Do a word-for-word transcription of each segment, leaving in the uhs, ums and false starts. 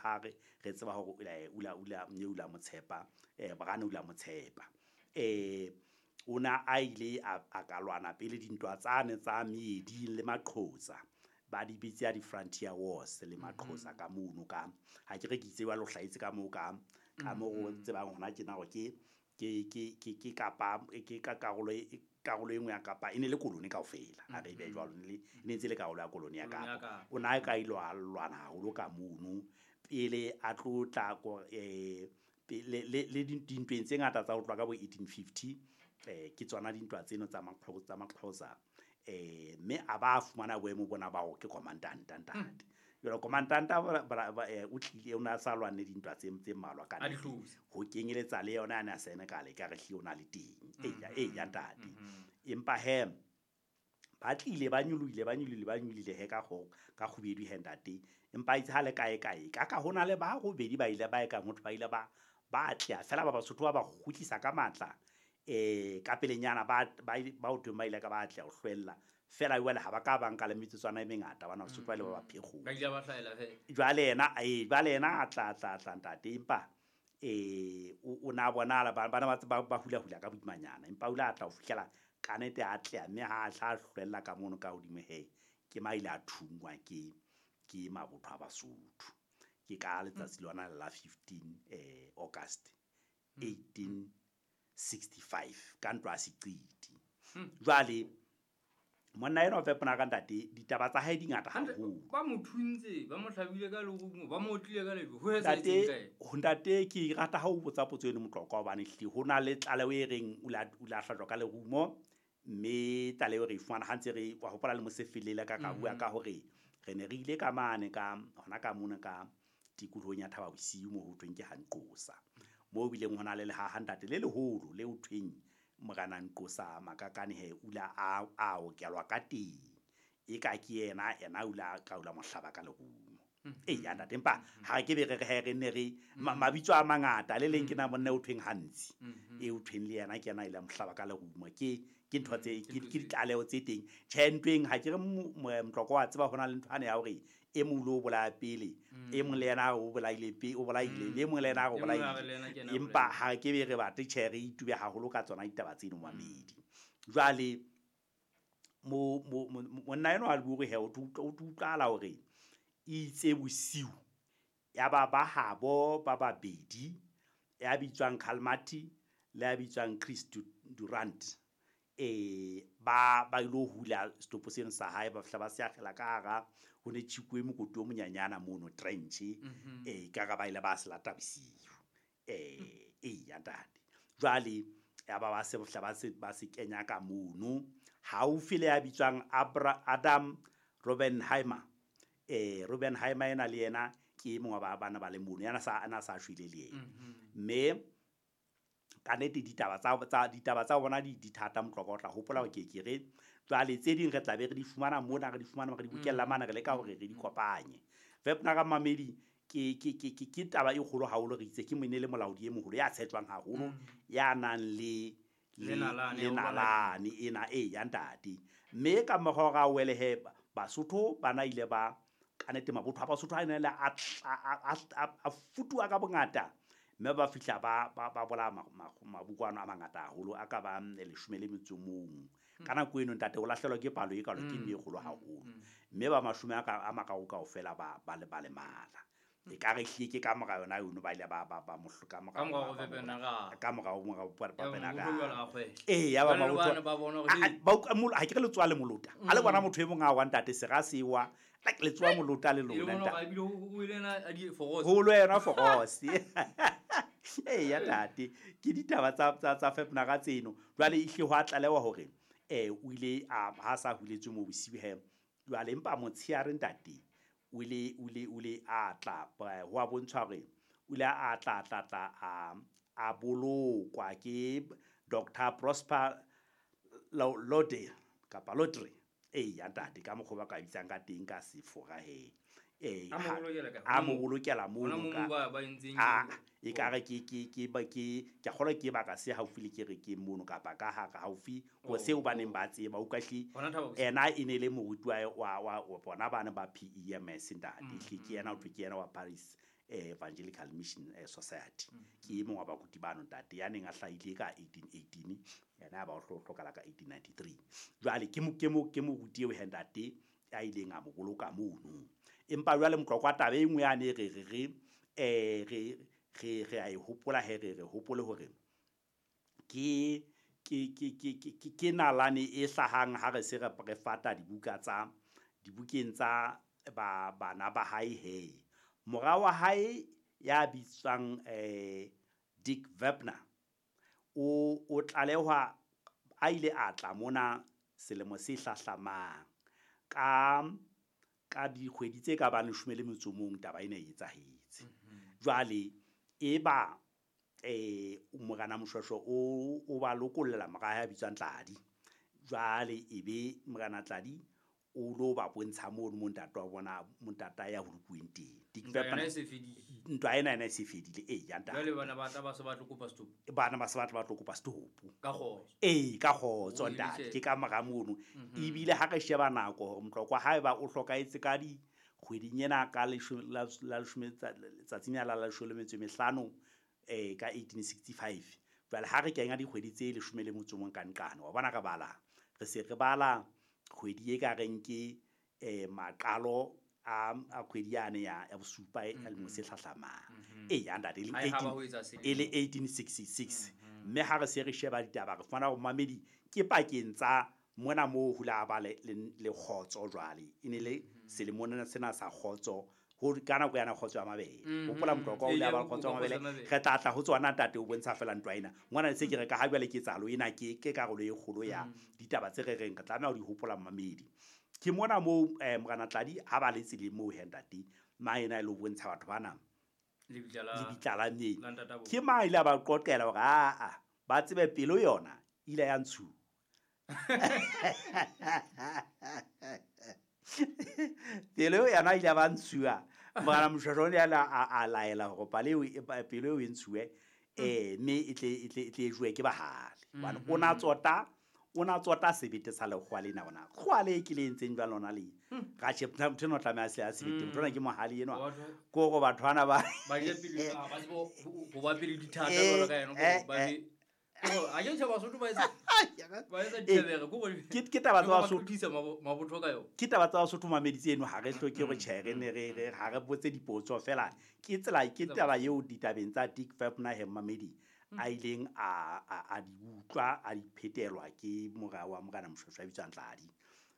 ha re re tseba hore o la o la o la motshepa eh Brane o la motshepa eh ona a ile a ka lwana pele dintwa tsane tsa meedi le Maqhosa ba di bitsa di Frontier Wars le Maqhosa ka mono ka ha ke re ke itse wa lo hlaitse ka mo ka ka mo go tsebang hona tjena hore ke ke ke ke ke kapa ke ka karolo e karolo e nngwe ya Kapa e ne le koloni kaofela ha re be jwalo ne le ne ntse le karolo ya koloni ya Kapa o na ka ilo lwana haholo ka mono pele a tlo tla eh le le dintweng tse ngata tsa ho tloha ka bo eighteen fifty eh ke tsona dintwa tseno tsa Maqhosa tsa Maqhosa eh mme a ba fumana boemo bona ba hore ke commandant ntate jwale commandant o tlile o na sa lwane dintwa tse tse mmalwa ka ho kenyeletsa le yona ana Senegal ka re hle o na le teng e ya e ya ntate empa he ba tlile ba nyoloile ba nyoloile ba nyoloile he ka go ka kgubedu he ntate empa itse ha le kae kae ka ka hona le ba robedi ba ile ba e ka motho ba ile ba ba tla fela ba Basotho ba ba kgutlisa ka matla eh ka pelenyana ba ba ba o teng ba ile ka ba tla ho hlwella fela jwale ha ba ka ba nka le metsotswana e mengata bana Basotho ba ile ba ba phekgo ba ile ba hlaela he jwale yena eh jwale yena a tla tla tla ntate empa eh o na bonala bana ba ba hula hula ka boimanyana empa o la tla ho fihlela kanete a tla mme ha tla hlwella ka mono ka hodimo he ke maile a thungwa ke ke mabotho a Basotho ke ka letsatsi lona la fifteen eh August eighteen sixty-five ka ntwa Seqiti jwale monna ena o fepona ka ntate ditaba tsa hae di ngata haholo ba mo thuntse ba mo hlabile ka lerumo ba mo otlile ka lejwe ho etsahetseng kae ntate ke rata ha o botsa potso eno Motlokwa hobane hle ho na le tlaleho e reng o la o la hlajwa ka lerumo mme tlaleho re e fumana ha ntse re wa hopola le mosefele ka ka bua ka hore re ne re ile ka mane ka hona ka mona ka tikolohong ya Thaba Bosiu mo ho thweng ke Hanqosa mo bileng hona le lehaha ntate le leholo le o thweng Morena Nqosa Makakane he ula a a okelwa ka teng e ka ke yena ena ula ka ula mohlaba ka lerumo e ya ntate empa ha ke be re re re ne re mabitso a mangata le leng ke na monna o thweng Hantsi e o thweng le yena ke yena ile mohlaba ka lerumo ke ke ntho tse ke ditlaleho tse teng tjhe ntweng ha ke re Motlokwa wa tseba hona le ntho ane ya hore e mong lo bolaya pele e mong le yena o bolaile pe o bolaile le mong le yena o bolaile empa ha ke be re batle tjhe re itube haholo ka tsona ditaba tseno mamedi jwale mo monna eno a bue he o utlwala hore itse bosiu ya ba ba habo ba babedi ya bitswang Kalmati le ya bitswang Chris Durant eh ba ba ilo hula stopo seno sa hae ba fihla ba se akgela ka hara ho ne tjhikuwe mokoti o monyanyana mono trench eh ka ga ba ile ba se lata bosiu eh e ya ntate jwale ya ba ba se fihla ba se ba se kenya ka mono haufi le ya bitswang Abra Adam Robenheimer eh Robenheimer ena le yena ke mongwe ba bana ba le mono yana sa ana sa shwele le yena mme ka nete ditaba tsa tsa ditaba tsa bona di thata Motlokwa o tla hopola hore ke ke re jwale tse ding re tla be re di fumana mona re di fumana re di bokella mana re leka hore re di kopanye fepna ka mamedi ke ke ke ke taba e kgolo haholo re itse ke mone le molaodi e moholo ya tshetjwang haholo ya nang le le nalane ena e ya ntate mme ka mokgwa ra wele he Basotho bana ile ba kanete mabotho a Basotho a ne le a a futuwa ka bongata mme ba fihla ba ba bola mabukwana a mangata haholo a ka ba leshome le metso mong ka nako eno ntate o lahlelwa ke palo e kalo ke mme e kgolo haholo mme ba mashome a ka a mararo kaofela ba ba le ba lemala e ka re hle ke ka mora yona yono ba ile ba ba ba mohloka mora ka mora mora ba penaga eh ya ba mabotho ba ha ke re letsoa le molota a le bona motho e mong a wa ntate se ga sewa like letsoa molota le lona ntate ho lo yena forose eh ya tate ke ditaba tsa tsa tsa fepna tseno jwale e hle ho atlalewa hore eh o ile a ha sa huletswe mo bosiu he jwale empa motsheare ntate o ile o ile o ile a tla ho a bontshwa hore o ile a tla tla tla a a bolokwa ke Doctor Prosper Lode kapa Lodre eh ya ntate ka mokgwa ba ka bitsang ka teng ka sefora he eh a mo bolokela mono ka a e ka re ke ke ke ba ke ke kgolwa ke baka se haufi le ke re ke mono kapa ka ha ka haufi ho seo ba neng ba tseba o kahle ena e ne le moruti wa wa wa bona bana ba P E M S ntate hle ke yena o thwe ke yena wa Paris eh, Evangelical Mission eh, Society. Ke e mong wa baruti bano ntate ya neng a hlahile ka eighteen eighteen, yena ba o hlokala ka eighteen ninety-three. Jwale ke mo ke mo ke moruti eo he ntate a ileng a mo boloka mono. Empa jwale Motlokwa taba e nngwe yane re re re eh re re re a e hopola he re re hopole hore ke ke ke ke ke ke nalane e hlahang ha re se re re fata dibuka tsa dibukeng tsa ba bana ba hae he. Mora wa hae ya bitswang eh Dick Webner o o tlalehwa a ile a tla mona selemo se hlahlamang ka ka dikgwedi tse ka bang leshome le metso mong taba ena e etsahetse. Jwale e ba eh Morena Moshweshwe o o ba lokollela mora ya bitswang Tladi. Jwale e be Morena Tladi o lo ba bontsha mono mo ntate wa bona montata ya holokuweng teng. Dick Webner ntwa ena ena e se fedile e ya ntate. Jwale bana ba tla ba se ba tlo kopa setopo. Bana ba se ba tla ba tlo kopa setopo. Ka kgotso. Ee, ka kgotso ntate, ke ka mora mono. Ebile ha re sheba nako hore Motlokwa haeba o hlokahetse ka di kgweding ena ka leshome la leshome tsatsing la leshome le metso e mehlano eh ka eighteen sixty-five. Jwale ha re kenya dikgwedi tse leshome le motso mong ka nqane, wa bona re bala. Re se re bala kgwedi e ka reng ke eh maqalo a a kgwedi yane ya ya bosupa e lemo se hlahlamang. E ya ntate e le eighteen sixty-six. Mme ha re se re sheba ditaba re fumana hore mamedi ke pakeng tsa mona moo hula ba le le kgotso jwale. E ne le selemong sena sa kgotso ho ka nako yana kgotso ya mabele. Hopola Motlokwa o ile a ba kgotso ya mabele. Re tla tla ho tsona ntate o bontsha fela ntwa ena. Ngwana se ke re ka ha jwale ke tsalo ena ke ke karolo e kgolo ya ditaba tse re reng re tlameha ho di hopola mamedi. Ke mona moo eh Morena Tladi ha ba le tseleng moo he ntate ma ena e lo bontsha batho bana lebitla la mme. Ke ma ile ba qoqela hore a a ba tsebe pelo yona ile ya ntshu. Pelo yona ile ba ntshuwa. Morena Moshweshwe o ne a a laela hore pelo pelo e ntshuwe eh mme e tle e tle e tle jowe ke bahale. Hobane o na tsota o na tsota sebete sa lekgowa lena ona. Kgowa le ke le entseng jwang lona le. Ka tjhe motho eno o tlameha se a sebete. Motho ona ke mohale enwa. Ke hore batho bana ba ba je pele ba tsebo ho ba pele dithata jwalo ka yena ba be a ke tjhe Basotho ba etsa ba etsa ditebere go ke ke taba tsa Basotho thisa mabotho ka yona. Ke taba tsa Basotho mamedi tseno ha re hloke hore tjhe re ne re re ha re botse dipotso fela. Ke tsela ke taba eo ditabeng tsa Dick Webner he mamedi a ileng a a di utlwa a di phetelwa ke mora wa Morena Moshweshwe a bitswang Tladi.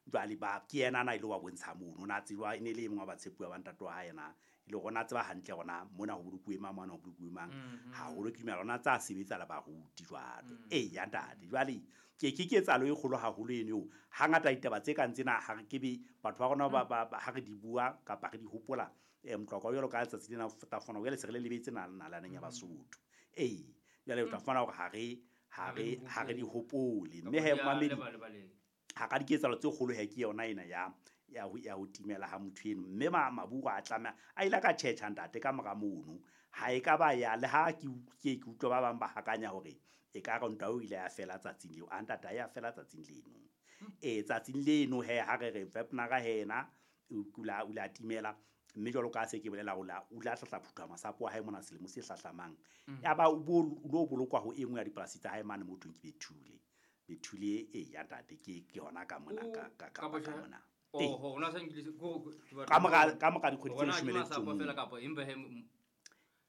Jwale ba ke yena na ile wa bontsha mono na tseba e ne le e mong wa batshepuwa ba ntate wa hae yena e le rona tseba hantle rona mona ho bolokuwe mang mona ho bolokuwe mang haholo ke dumela rona tsa sebetsa le baruti jwale. E ya ntate jwale ke ke ketsahalo e kgolo haholo eno eo. Hangata ditaba tse kang tsena ha re ke be batho ba rona ba ha re di bua kapa re di hopola eh Motlokwa jwalo ka letsatsi lena ta fona jwale se re le lebetse nalaneng ya Basotho. Ee jwale o tla fumana hore ha re ha re ha re di hopole mme he mamedi ha ka diketsahalo tse kgolo he ke yona ena ya ya ho ya ho timela ha motho eno mme maburu a tlameha a ile ka tjhetjha ntate ka mora mono ha e ka ba ya le ha ke ke ke utlwa ba bang ba hakanya hore e ka re ntwa o ile ya fela tsatsing leo a ntate ya fela tsatsing leno e tsatsing leno he ha re re Webner ka hena o kula o la timela mme jwalo ka se ke bolela o la o la tlatla phutha masapo a hae mona selemo se hlahlamang ya ba o lo bolokwa ho engwe ya dipolasi tsa hae mane mothong ke Bethule Bethule e ya ntate ke ke hona ka mona ka ka ka mona oh ona sa nkile go ka mora ka mora dikgwedi tse leshome le metso fela kapa empa he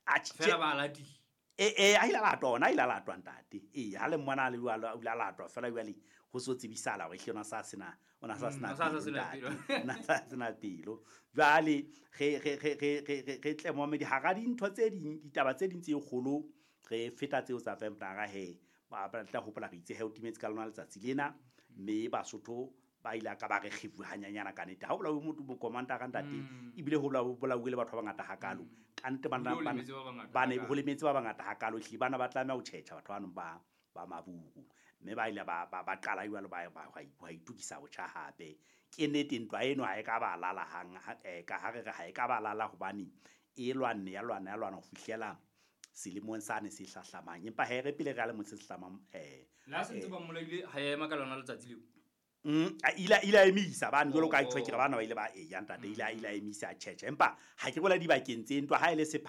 a fela ba lati e e a ile latwa ona ile latwa ntate e ha le mmona le jwalo o ile latwa fela jwale ho so tsebisala hore hle ona sa sena ona sa sena ona sa sena pelo jwale re re re re re tle momedi ha ra dintho tse ding ditaba tse ding tse kgolo re feta tseo tsa Webner he ba tla hopola re itse he o timetse ka lona letsatsi lena mme Basotho ba ile ka ba re kgefu hanyanyana ka nete ha o bolawe motho mo commander ka ntate ebile ho bolawe le batho ba bangata hakalo ka nete bana ba ne ho lemetse ba bangata hakalo hle bana ba tlameha ho tjhetjha batho ba nong ba ba maburu mme ba ile ba ba qala jwalo ba ba ba itukisa botjha hape ke nete ntwa eno ha e ka ba lala hang ka ha re re ha e ka ba lala hobane e lwanne ya lwana ya lwana ho fihlela selemong sane se hlahlamang empa he re pele re le motse se hlamang eh la se ntse ba mmolaile ha ema ka lona letsatsi leo. Mm, a ile ile a emisa bane jwalo ka Oh, tjho ke re oh. bana ba ile ba eya ntate ile a ile a emisa tjhetjhe empa ha ke bola dibakeng tse ntwa ha e le sepha